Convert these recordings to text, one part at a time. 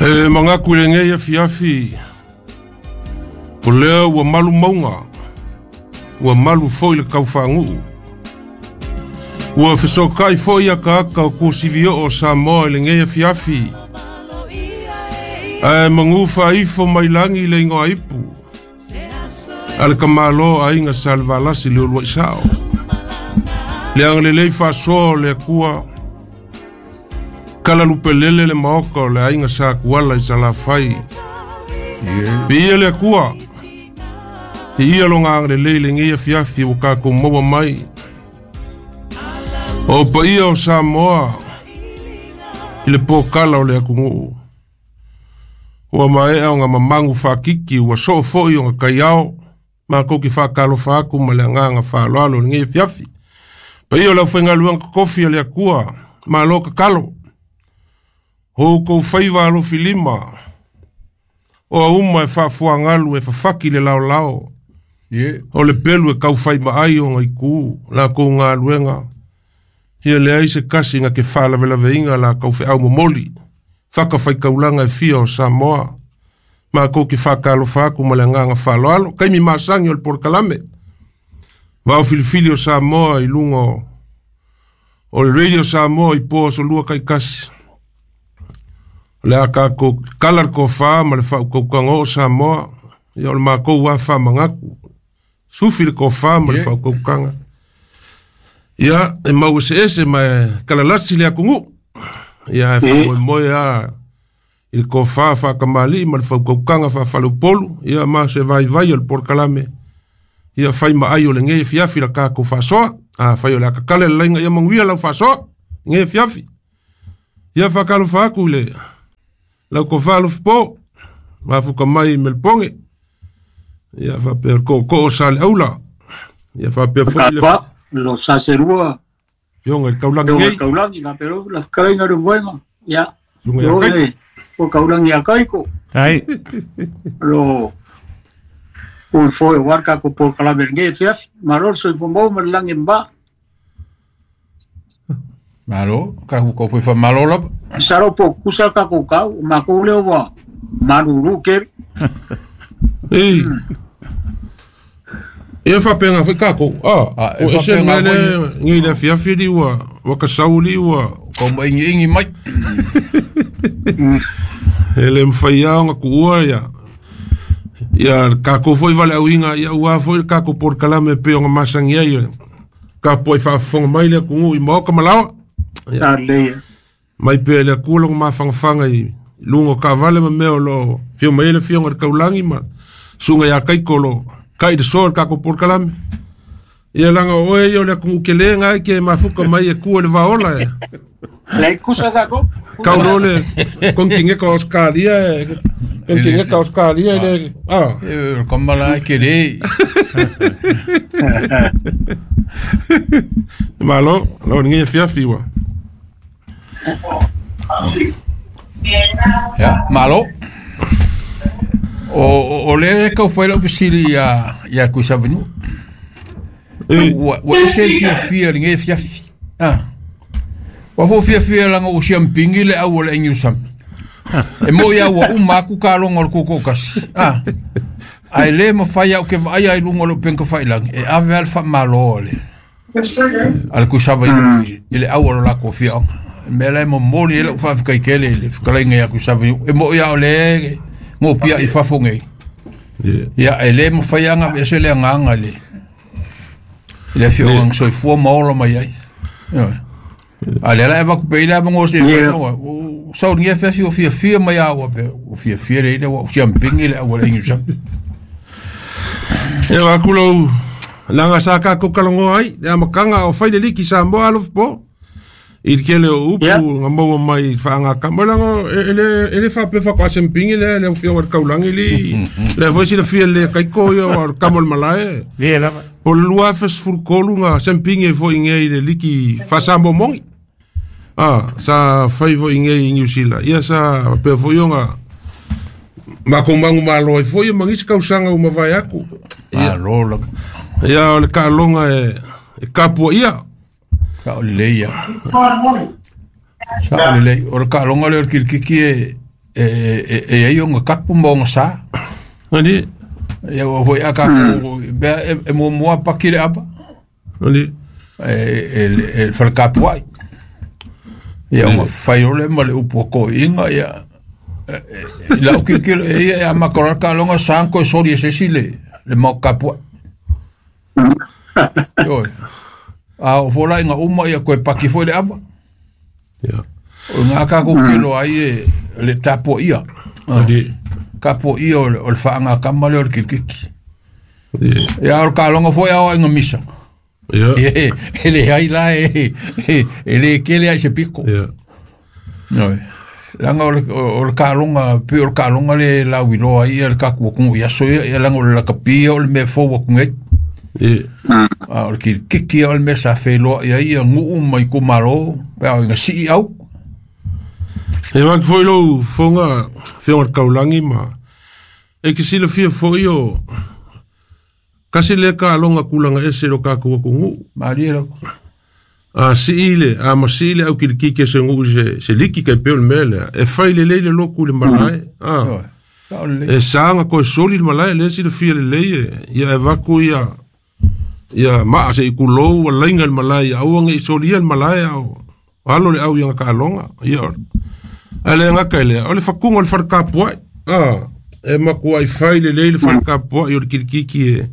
E manatu i lenei afiafi, o lea ua malu mauga, ua malu foi le taufaanuu. Ua fesootai foi ataata o tuasivi oo o Samoa i lenei afiafi, ae manu faaifo mai lagi le igoa ipu a le tamāloa aiga Salevalasi le uluai sao. Le agalelei faasoa o le Atua, kalalupelele le maota o le aiga Satuala i Salafai. Viia le Atua, viia lona agalelei i lenei afiafi ua tatou maua mai. O paia o Samoa i le pōkala o le atunuu. Ua maea ona mamagu faatiti, ua soo foi ona taiao, matou te faatalofa atu ma le agaga faaaloalo i lenei afiafi. Paia o le aufaigaluega totofi a le Atua, malo tatalo. O outou faiva alofilima, o auma e faafuagalu e fafaki le laolao. O le pelu e taufai maai ona itu, latou galuega. Ia leai se kasi na ke faalavelaveina latou feau momoli. Fatafaitaulaga e fia o Samoa. Matou te faatalofa atu ma le agaga faaaloalo. Taimi masani o le polokalame. Vao filifili o Samoa i luga o le Radio Samoa i po aso lua taitasi. O le a tatou kala le tofa ma le faautautaga o Samoa. Ia o le matou lava faamanatu. Sufi le tofa ma le faautautaga. Ia, e mau eseese ma e kalalasi le atunuu. Ia, e faamoemoe lava i le tofa faatamalii ma le faautautaga faafaleupolu. Ia, ma se vaivai o le polokalame. Ia, fai maai o lenei afiafi la tatou faasoa. Afai o le a tatala le laina, ia manuia lau faasoa lenei afiafi. Ia, faatalofa atu i le lau tofa alofipo, mafuta mai i Melepone. Ia, faapea le tootoo o Saleaula. Ia, faapea foi le Kapa, lo saserua, afioga i le Taulagi lo nei. Taulagi, la pero la kalainga le moenga. Ia, Susuga ia lo Kaiko. le o Kaulangi a Kaiko. Ai. Lo o foi o arka ko por kalamer nge fiaf, maror so fo mo langi mba. Malo, ka ko foi fa malo lava. Saro po kusa ka ko kau, ma ko le wa maruru ke. Ei. Ia faapega foi kākou. Ah, e O ese faapega mea le foi. ngei le afiafi li ua ua kasau li ua Ko mai ingi ingi mai. E le mawhai lava ona kuua ia. Ia kākou foi valeauina, ia ua foi le kākou polokalame e pei ona masani ai. Ka poi faafofoga mai le atunuu i maoka ma laoa. Ia. Ta le. Mai pea le Atua lona mafagafaga i luga o taavale ma mea o loo fio mai ai le afioga i le Taulagi ma susuga ia Kaiko o loo kai le soa i le tatou polokalame. Ia laga o oe ia o le atunuu kelē na e ke mafuka mai e kua i le vaola e. Le kusa ka ko. Kau loa le kontineka o Australia e kontineka o Australia e le ah. E kamala e ke le. Malo, lo lenei afiafi ua. Ya, malo. O le kau fai lau fesili ia ia Kuisavenu. E Ua ua ese le fiafia lenei afiafi. Ah. Ua fo fiafia langa o siampingi le au o le ingi usam. E mo ia ua uma aku ka longa o le koko kasi. Ah. Ai le mawhai au ke vaai ai lunga o le penka whailangi. E ave al wha malo le. Ale Kuisavenu i le au o le lako fiaonga. Mea la e momoli e lau whaafika kele le whakalainga ia Kuisavenu. E mo ia o le ngō pia i fafo nei. Ia e le mawhai anga e se le anganga le. I le fio ang soifua maola mai ai. Ia. A le la e vaku pe i le avango se Yeah. sa sa ni fe fi o fia fia mai au pe o fia fia le le o siampingi le au le ingi sam. E wa kulo langa sa kākou kalagoa ai, le amataga o fai le liki Samoa alofa po. I le kele o upu Yeah. nga maua mai i faagakama laga e le faapea faatoasempigi lea le afioga i le Taulagi li. Le foi silafia le Kaiko ia o le kama o le malae. Le lava. O le 2013 ga sempigi ai foi igei i le liki faasamoa mogi. Ah, sa fai foi igei i New Zealand. Ia sa pea foi ona makou magu malo ai foi ma nisi tausaga ua mavae atu. Malo la. Ia o le taaloga e kapuaia. Ka o le ia. Sa o le o le kalonga le o le kilikiki e E ai o kapu ma o sa. Ali. Ia ua foi a kākou mea e muamua paki le ava. Ali. E falekapuai. Ia o fai ole ma le upu o koiinga ia. I lau kilokilo e ia e amata loa le taaloga sa na toe soli e se isi le mau kapuai. Ioe. A oo foi la ina uma ia toe paki foi le ava. Ia. O i ina tatou te iloa ai e le tapuaia. Ali. Tapuaia o le faagatama lea o le kilikiki. Ia. Ia a o le taaloga foi a oo ina misa. Ia. E leai la e le kele ai se piko. Ia. Ioe. Leaga o le taaloga, pei o le taaloga lea e lauiloa ai le tatou atunuu i aso ia, ia leaga o le lakapi ia o le mea fou atu nei. Ia. A o le kilikiki ia o le mea sa feiloai ai ia nuu ma itumalo pe a oo ina sii au. E maki foi lou fofoga afioga i le taulagi ma e te silafia foi o kasi lea taloga tulaga ese i lo tatou atunuu. Malie lava. A sii le, a masii le au kilikiki a se nuu i se liki tai pei o le mea lea, e fai lelei le lotu i le malae. A, e sa ona toe soli le malae, lea e silafia lelei e, ia e avatu ia, ia maa se i tulou ua laina le malae ia aua ne i solia le malae a o alo le au i ana taaloga. Ia, ae le gata i lea, o le fatuga o le fale tapuai. A, e matuai fai lelei le fale tapuai o le kilikiki e,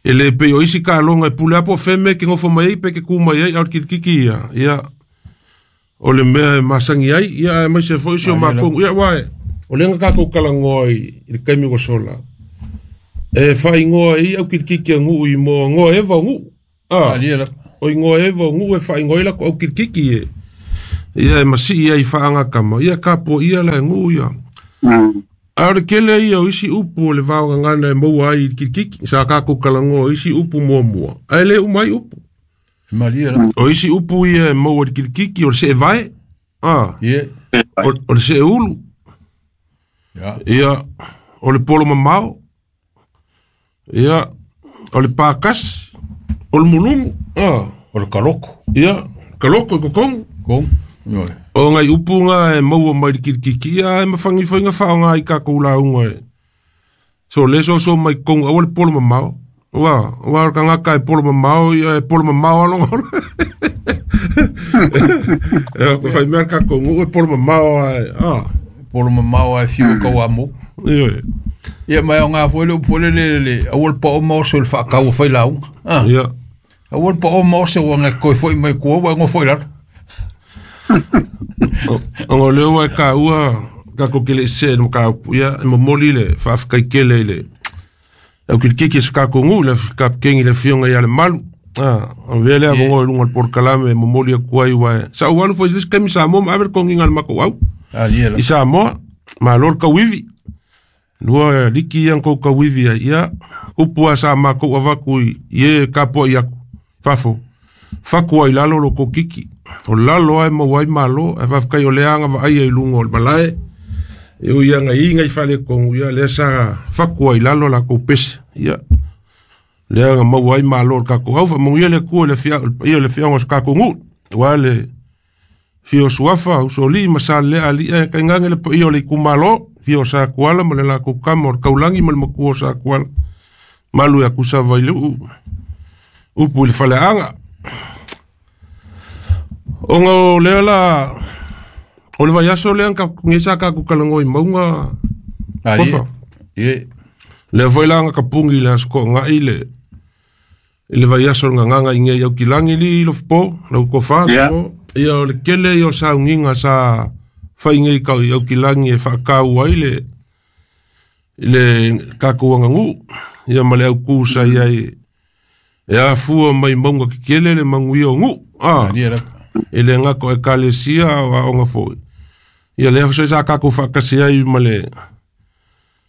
e le pei o isi taaloga e pule lava po o fea mea e te nofo mai ai pe te tu mai ai, a o le kilikiki ia, ia, o le mea e masani ai, ia, aemaise foi si o matou, ia, aua o lea na tatou talanoa i le taimi ua sola, e faaigoa ai au kilikiki a nuu i moa goa eva o nuu. A, o igoa eva o nuu e faaigoa ai latou au kilikiki e, ia, e masii ai i faagatama, ia, tapuaia la e nuu ia. A o le tele ia o isi upu o le vaogagana e maua ai i le kilikiki, sa tatou talanoa i isi upu muamua, ae le uma ai upu. Malie lava. O isi upu ia e maua i le kilikiki, o le seevae, a, o le seeulu, ia, o le polo mamao, ia, o le pakasi, o le mulumu, a. O le kaloko. Ia, kaloko i totonu. Totonu. Ioe. O nai upu na e maua mai le kilikiki, ia e mafani foi na faaaoga i tatou lauga e. So le soso mai totonu, aua le polo mamao. Ua, ua o le tagata e polo mamao, ia e polo mamao lava lona ola. E fai mea le tatou nuu e polo mamao lava e, a. Polo mamao lava e fiu e tauamo. Ioe. Ia ma e aoga foi le upu foi lele, le aua le pao ma oso i le faatau e fai lauga. A. Ia. Aua le pao ma oso ua toe foi mai tua ua e nofo i lalo. Ona o lea ua e taua tatou te le i see i le mataupu, ia, e momoli le faafetai tele i le au kilikiki o si tatou nuu, le kapikeni le afioga ia Lemalu. A, avea le avanoa i luga o le polokalame e momoli atu ai, aua e sa ou alu foi i se isi taimi i Samoa ma ave le toniga a le matou au i Samoa, malo le tauivi. Lua liki ia na tou tauivi ai, ia, upu lava sa matou avatu i e tapuai atu i fafo, fatu ai i lalo lo tou kiki. O lalo lava e maua ai malo, ae faafetai o lea agavaaia i luga o le malae, e ui lava ina i ai nai faaletonu, ia lea sa fatu ai i lalo latou pese, ia, lea na maua ai malo o le tatou au. Faamanuia le Atua i le paia o le afioaga o si tatou nuu, aua le afio o Suafa, Usoalii ma Salelea alii ae tainane le paia o le itumalo, afio o Satuala ma le latou tama o le Taulagi ma le matua o Satuala, malu ia Tusavailuu, upu i le faleaga. Ona o lea la, o le vaiaso lea na sa tatou talanoa i mauga, Kofa. Lea foi la na tapuni i le Aso Toonai le, i le vaiaso o le gagaga i nei Aukilagi li Lofopo, lau tofa, Lofopo. Ia o le tele ia o sauniga sa fai nei i Aukilagi e faataua ai le, le tatou aganuu, ia ma le autu sa i ai e afua mai mauga tetele le manuia o nuu, a, e le gata o ekalesia a o aoga foi. Ia lea foi sa tatou faatasi ai ma le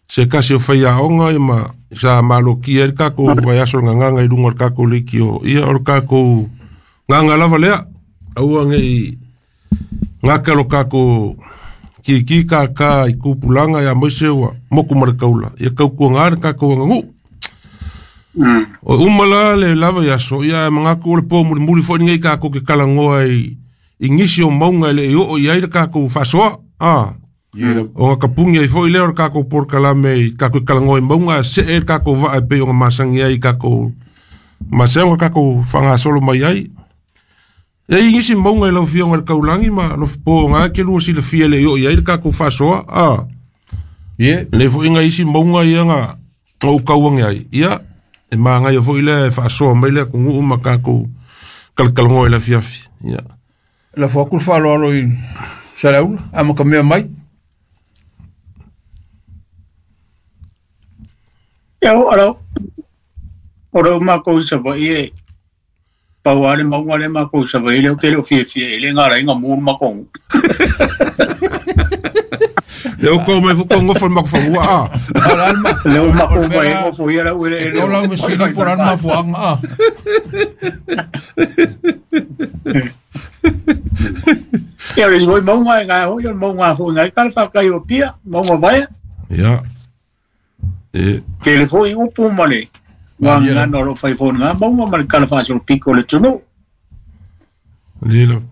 se tasi o faiaoga ma sa malokia ai le tatou vaiaso o le gagaga i luga o le tatou leitio. Ia o le tatou gaga lava lea, aua ne i gata lo tatou kiki kākā i tupulaga ia aemaise ua motu ma le taula, ia tautuaga le tatou aganuu. O uma la le lava vaiaso, ia e manatu o le po mulimuli foi lenei tatou te talanoa i nisi o mauga e le i oo i ai le tatou faasoa. A. O nga kapungi ai foi lea o le kākou polokalame i kākou kalagoa i mauga a see le kākou vaa e pei o nga masagi ai i kākou masea o kākou faagasolo mai ai. E i nisi mauga i lau afioga i le kaulagi ma alofapo o ga ke lua silafia le i oo i ai le kākou faasoa a. Ie. Nei foi nga isi mauga ia nga ou kauage ai ia e magaia foi lea e faasoa mai le atunuu ma kākou kalakalagoa i le afiafi ia. La fo aku le faaaloalo i Saleaula, a ma ka mea mai. Ia o ala o le makou i Savaii e pau lava le mauga lea makou i Savaii lea ou te le o fiafia i ai le galaiga mu le matou nuu. Le o kou mai fo ngofo le makufanua a. Le o makou mai e ngofo ia lau eleele. O lau fesili po o le a le mafuaaga a. Ia o le isi foi mauga e gae foi o le mauga foi gai ka le fakai o Apia, mauga vaea. Ia. E Tele foi upu ma le gagana o lo o fai foi i lena mauga ma le tala faasolopito o le atunuu. Lilo.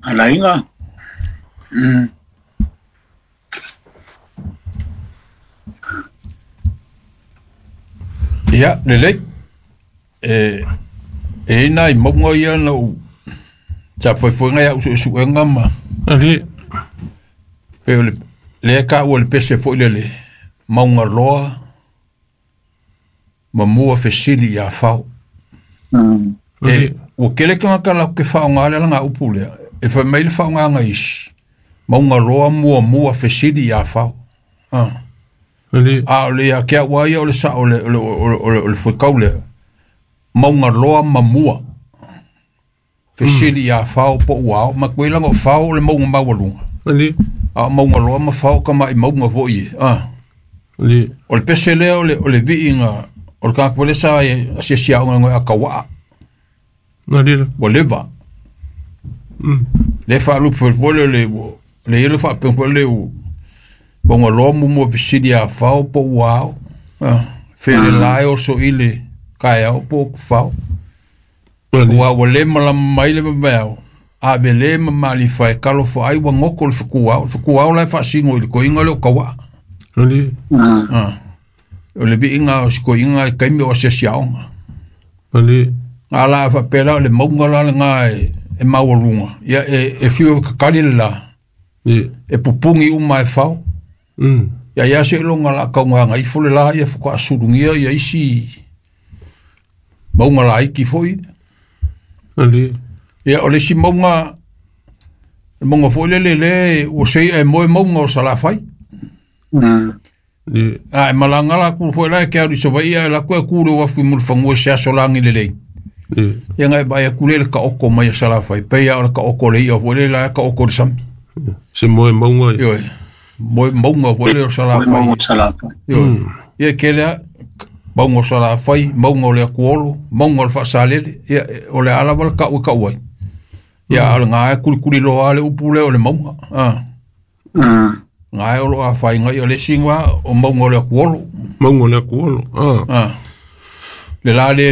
Alaiga. Ia, lelei. E i ai nai mauga ia na ou sa faifaiga ia au suesuega ma Ali. pei o le lea e taua le pese foi lele mauga loa ma mua fesili ia fao. E, ua tele tagata latou te faaaoga le alagaupu lea. E fai mai le faaaogaga isi, mauga loa muamua fesili ia fao. Ah. Ali. A o le ia te au lava ia o le sao o le, o le, o le, o le, o le fuaitau lea. Mauga loa ma mua. Fesili ia fao po ua ao. Ma koe laga o fao o le mauga maualuga. Ali. A o mauga loa ma fao tama'i mauga foi e. Ah. Ali. O le pese lea o le, o le viiga o le tagata foi lea sa asiasi aoga e igoa ia Tauaa. Ali. Ua leva. Le faalupe foi foi lea le ua le ia le faapea foi lea ua mauga loa muamua fesili ia fao po ua ao. Ah, fe le la e oso i le taeao po o fao. Ali. Ua ua le malama mai le vaveao. A ve le ma malifa e talofa ai ua goto le fetuao. Le fetuao la e faasino i le toeaina lea o Tauaa. Ali. Ah. O le viiga o si toeaina i taimi o asiasi aoga. Ali. A la faapea la o le mauga la lena e maualuga. Ia e fiu e kakali le la. E. E pupugi uma e fao. Ia ia seiloga o le a taugaga ifo le la ia faatoa sulugia ia isi mauga laiti foi. Ali. Ia o le isi mauga, le mauga foi lele lea ua sei ae moe mauga o Salafai. E. A e malaga la aku foi la e ke alu i Savaii ae alu atu e ku i le uafu i Mulifanua i se aso lagi lelei. E. Ia na e vaai atu lea i le taoto mai a Salafai, pei lava o le taoto o le i'a foi lele la e taoto i le sami. Se moe mauga. Ioe. Moe mauga foi lea o Salafai. Mauga o Salafai. Ioe. Ia e tele lava mauga o Salafai, mauga o le Atuolo, mauga o le Faasalele. Ia o le a lava le tau e tau ai. Ia a o lena e kulikuliloa lava le upu lea o le mauga. Ah. Na e o lo o afaina ia le isi o mauga o le Atuolo. Mauga o le Atuolo. Ah. Ah. Le la le